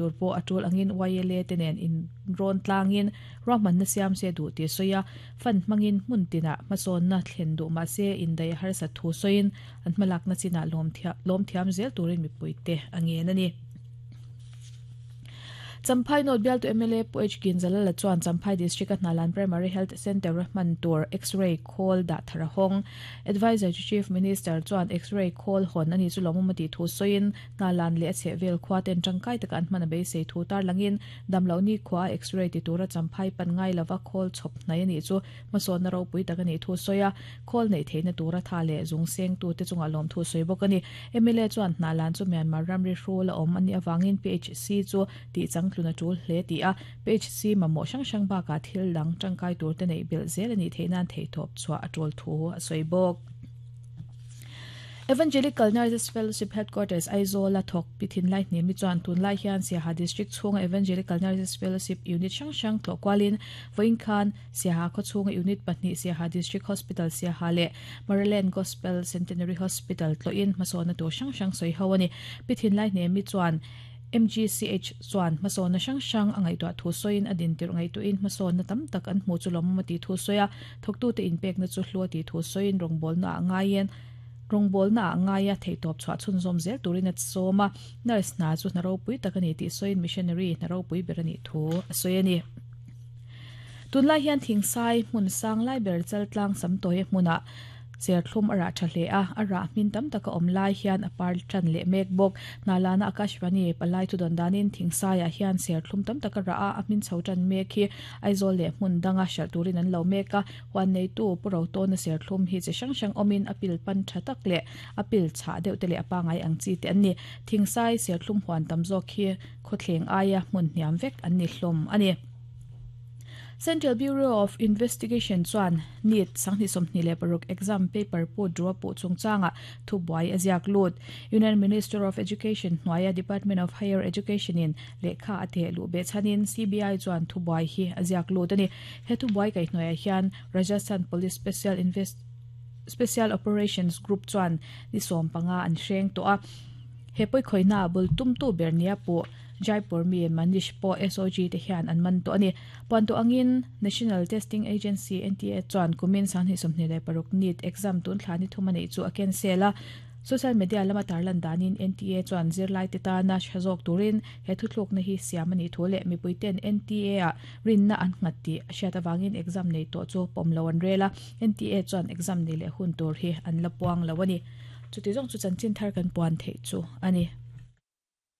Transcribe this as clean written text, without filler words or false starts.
tur pawh a tul angin YLA te nen in rawn tlangin ruahmanna siam se duh tih a sawi a, fund hmangin hmun tinah hmasawnna thlen duh mah se indaih a harsat thu sawiin an hmalakna chinah lawm thiam zel turin mipuite a ngen a ni. Champhai North bialtu mla Pu H Ginzalala chuan Champhai District-a Hnalan Primary Health Centre-a hman tur X-ray khawl dah thar a hawng. Adviser to Chief Minister chuan X-ray khawl hawn a ni chu lawmawm a tih thu sawiin Hnalan leh a chhehvel khua ten tangkai taka an hman a beisei thu tarlangin damloh ni khua a X-ray ti tura Champhai pan ngai lova khawl chhawp hnai a nih chu Hmasawnna ropui tak a nih thu sawi a, khawl neih theihna tura tha leh zung sengtute chungah lawmthu sawi bawk a ni. Mla chuan Hnahlan chu Myanmar ramri hrul a awm a nih avangin PHC chu tih changtlun a tul hle tih a, PHC mamawh hrang hrang bakah thil dang tangkai turte neih belh zel a nih theih nan theihtawp chhuah a tul thu a sawi bawk. Evangelical Nurses Fellowship Headquarters Aizawl-a thawk Pi Thinlai Hnemi chuan tunlai hian Siaha District chhunga Evangelical Nurses Fellowship Unit hrang hrang tlawh kualin vawiin khan Siaha khawchhunga Unit pahnih Siaha District Hospital Siaha leh Maryland Gospel Centenary Hospital tlawhin hmasawnna tur hrang hrang sawi ho a ni. Pi Thinlai Hnemi chuan MGCH chuan hmasawnna hrang hrang a ngaihtuah thu sawiin a dintirh ngaihtuahin hmasawnna tam tak an hmuh chu lawmawm a tih thu sawi a, thawktute inpekna chu hlu a tih thu sawiin rawngbawlna ah ngaiin rawngbawlna ah ngaia theihtawp chhuah chhunzawm zel turin a sawm a, nurse hna chu hna ropui tak a ni tih sawiin missionary hna ropui ber a nih thu a sawi a ni. Tunlai hian thingsai hmun sang lai ber chaltlang samtawia hmunah Serthlum a rah tha hle a, a rah hmin tam taka awm lai hian a par tan leh mek bawk. Hnalana Akashvani palai thu dawn danin Thingsaiah hian serthlum tam tak a rah a, a hmin chho tan mek hi Aizawl leh hmun danga hralh turin an lo mek a. Huan neitu Pu Rotawna serthlum hi chi hrang hrang awmin a pil pan tha tak leh a pil chhah deuh te leh a pangai ang chi te an ni. Thingsai serthlum huan tam zawk hi khawthleng aia hmun hniam vek an ni hlawm a ni. Central Bureau of Investigation chuan NEET 2026 exam paper put rua puh chungchangah thubuai a ziak lut. Union Minister of Education hnuaia Department of Higher Education in lehkha a teh luh beh chhanin CBI chuan thubuai hi a ziak lut a ni. He thubuai kaihhnuaiah hian Rajasthan Police Special Special Operations Group chuan ni 15 an hreng tawh a. He pawikhawihna bul tumtu ber nia puh Jaipur mi Manish pawh SOG te hian an man tawh a ni. Puantu angin National Testing Agency, NTA, chuan kumin 2026 NEET exam tun thla ni thum a neih chu a cancel a. Social media lama tarlan danin NTA chuan zirlaite tana tha zawk turin he thuthlukna hi siam a nih thu leh mipuiten NTA-ah rinna an nghat tih a hriat avangin exam nei tawh chu pawm lo an rel a. NTA chuan exam nei leh hun tur hi an la puang lo a ni. Chuti zawng chu chanchin thar kan puan theih chu a ni.